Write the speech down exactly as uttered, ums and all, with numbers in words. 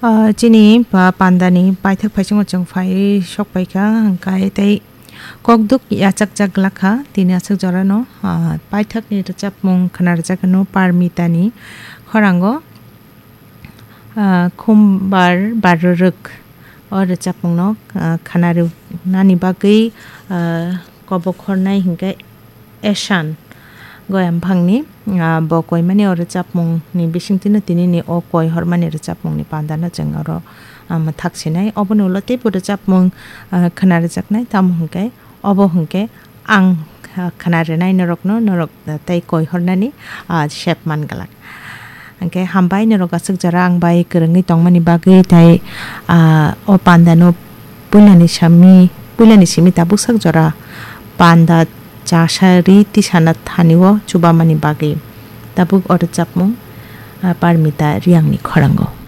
Ah, chini pa-, pandani paithak phaisingo chwng phai sok paikha, hwnkhe tei kokduk yachakjak glakha tini aswk jorano, ah, paithakni rwchapmung khwna rwjakno Parmitani khorango, ah, Khumbar Barorwk o rwchapmungno, ah, khwna rwnani bagwi, ah, kobokhornai hwnkhe Eshan Goyamphangni, ah, bo koimani o rwchapmungni bisingtwino tinini o koi hormani rwchapmungni pandano chwng oro, ah, mwthak sinai. Oboni ulo teibo rwchapmung, ah, khwna rwjaknai, tamo hwnkhe obo hwnkhe ang, ah, khwna rwnai norokno, norok, ah, tei koi hornani, ah, sep man glak. Hwnkhe hambai norok aswk jora ang bai kwrwngwi tongmani bagwi tei, ah, o pandano puilani simi, puilani simi tabuk sak jora panda chasa ri tisana thani o chubamani bagwi tabuk o rwchapmung, ah, Parmita Riyangni khorango.